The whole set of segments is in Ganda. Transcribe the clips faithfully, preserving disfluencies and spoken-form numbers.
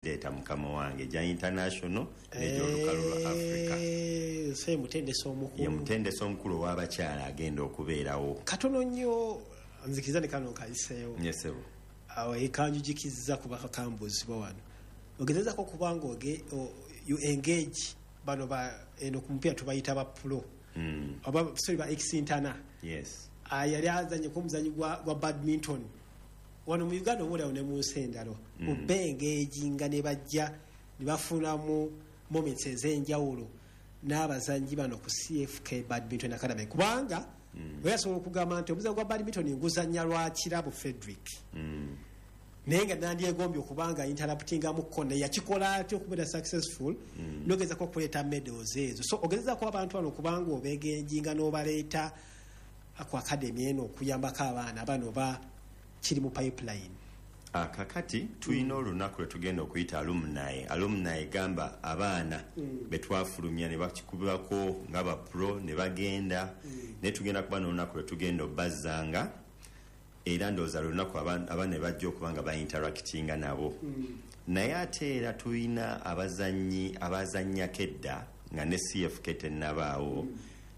Leeta mukama wange gya international n'egyolukalu lwa Africa. Eh, se mutendesi Ye omukulu. Mutendesi omukulu ow'abakyala agenda okubeerawo. Katono nnyo, nzikiriza ne kano nkayiseewo. Yesebo. Awo ekanjujikizza kuba kakambuuzibwa wano, ogezezako kubanga oge o- you engage bano ba eno ku mupiira tubayita ba pro Mm. oba, sorry, ba ex-international. Yes. Yali azanye ku omuzanyi gwa, gwa badminton wano mu Uganda oba oliawo ne mu nsi endala, mm. oba engaginga ne bajja ne bafunamu moments ez'enjawulo n'abazanyi bano ku C F K Badminton Academy, kubanga mm. oyasobola okugamba nti omuzanyo gwa badminton nguzannya lwa Kirabo Frederick, Mm. naye nga nandyegombye okubanga interruptingamukko, naye yakikola atya okubeera successful mm. nogezako okuleeta medals ezo? So ogezezako abantu bano okubanga obengaginga n'obaleeta ku academy eno okuyambako abaana bano, ba kiri mu pipeline? Ah, kakati tulina olunaku lwe tugenda okuyita alumni. Alumni gamba abaana betwafulumya ne bakikubirako nga ba pro ne bagenda, naye tugenda kuba n'olunaku lwe tugenda obazzanga, era ndowooza lunaku aba- abaana ne bajja okuba nga bainteractinga nabo. Naye ate era tulina abazanyi abazannyako edda nga ne C F K tennabaawo.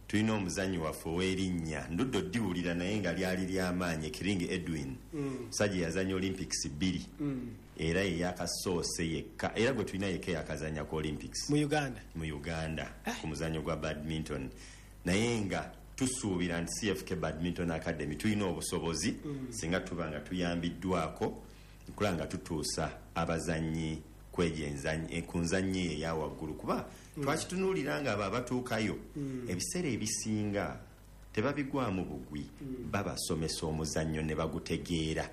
Tulina omuzanyi waffe ow'erinnya ndudde oddiwulira naye nga lyali lyamaanyi, Kiringi Edwin, musajja yazanya Olympics bbiri, era ye yakasoose yekka, era gwe tulina yekka yakazanya ku Olympics mu Uganda. Mu Uganda ku muzanyo gwa badminton. Naye nga tusuubira nti C F K Badminton Academy tulina obusobozi, singa tuba nga tuyambiddwako nkulaba nga tutuusa abazanyi kwegyo enzanyi- eh, ku nzanyi eyo eya waggulu, kuba twakitunuulira nga abo abatuukayo ebiseera ebisinga tebabigwamu bugwi, babasomesa omuzannyo ne bagutegeera.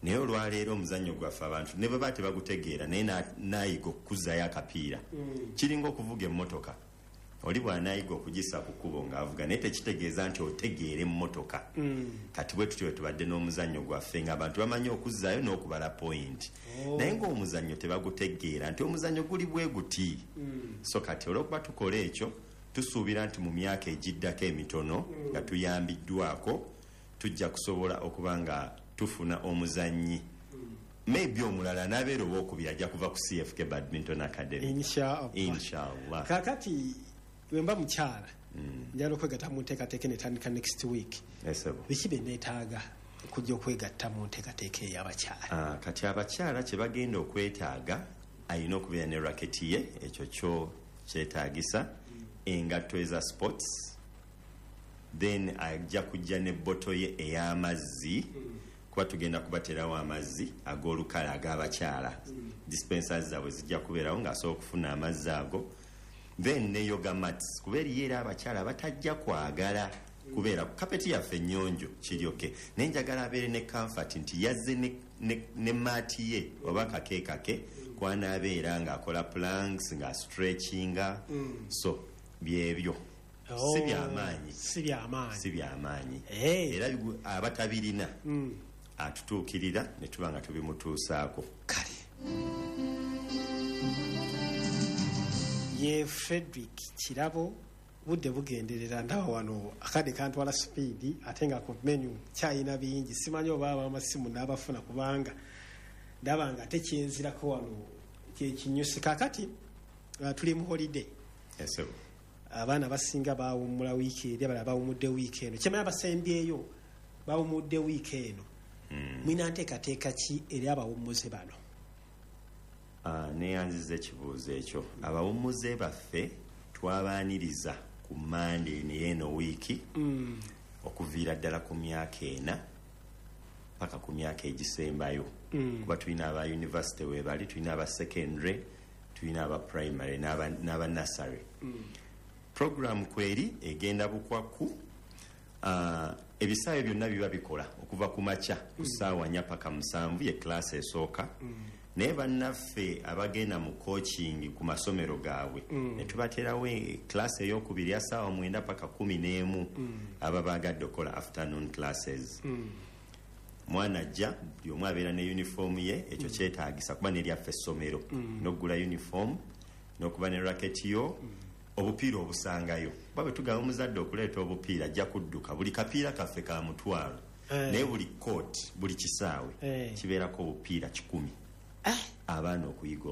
Naye olwaleero omuzannyo gwaffe abantu ne baba tebagutegeera, naye na- nayiga okukuzzayo akapiira. Kiringa okuvuga emmotoka, oli bw'anaayiga okugisa ku kkubo ng'avuga, naye tekitegeeza nti otegeera emmotoka. Kati bwe tutyo bwe tubadde n'omuzannyo gwaffe, ng'abantu bamanyi okuzzaayo n'okubala point, naye ng'omuzannyo tebagutegeera nti omuzannyo guli bwe guti. So kati olw'okuba tukola ekyo, tusuubira nti mu myaka egiddako emitono nga tuyambiddwako tujja kusobola okuba nga tufuna omuzannyi maybe omulala n'abeera owokubiri ajja kuva ku C F K Badminton Academy. Inshallah. Inshallah. Kakati wemba mukyala njagala okwegatta mu nteekateeka netandika next week, Esebo. biki bye neetaaga okujja okwegatta mu nteekateeka ey'abakyala? Ah, kati abakyala kye bagenda okwetaaga, alina okubeera ne racket ye, ekyo kyo kyetaagisa, engatto eza sports, then ajja kujja ne bottle ye ey'amazzi, kuba tugenda kubaterawo amazzi ag'olukale ag'abakyala. Dispensers zaabwe zijja kubeerawo ng'asobola okufuna amazzi ago, then ne yoga mats, kuba eriyo era abakyala batajja kwagala kubeera ku kapeti yaffe ennyonjo kiryoke, naye njagala abeere ne comfort nti yazze ne, ne, ne mat ye oba kake kake kwanaabeera ng'akola planks, ng'astretchinga. So byebyo, si byamaanyi. Si byamaanyi. Si byamaanyi. Eh. Era bigu- abatabirina atutuukirira ne tuba nga tubimutuusaako. Kale, ye Frederick Kirabo. Budde bugenderera, ndaba wano akadde kantwala speed, ate nga ku menu kyayina bingi. Simanyi oba abamasimu n'abafuna, kubanga ndaba nga ate kyenzirako wano kyekinyusi. Kakati uh, tuli mu holiday. Esebo. Abaana basinga bawummula wiiki eri, abalala bawumudde wiiki eno. Kyemanya basembyeyo bawumudde wiiki eno. Mwina nteekateeka ki eri abawummuze bano? Ah, neyanziza ekibuuzo ekyo. Abawummuze baffe twabaaniriza ku Mande eno eno wiiki, okuviira ddala ku myaka ena paka ku myaka egisembayo, kuba tulina aba university webali, tulina aba secondary, tulina aba primary n'aba n'aba nursery. Program kweri egenda bukwakku. uh, ebisaawe byonna biba bikola okuva ku makya ku ssaawa nnya paka musanvu, ye class esooka. Naye bannaffe abagenda mu coaching ku masomero gaabwe, ne tubaterawo class eyokubiri ya ssaawa mwenda paka kumi n'emu, aba bagadde okukola afternoon classes. Mwana ajja, buli omu abeera ne uniform ye. Ekyo kyetaagisa kuba neryaffe essomero, n'okugula uniform n'okuba ne racket yo, obupiira obusangayo. Kuba bwe tugamba omuzadde okuleeta obupiira, ajja kudduka. Buli kapiira kaffe ka mutwalo, Eh. naye buli court, buli kisaawe Eh. kibeerako obupiira kikumi. Eh, Abaana okuyiga.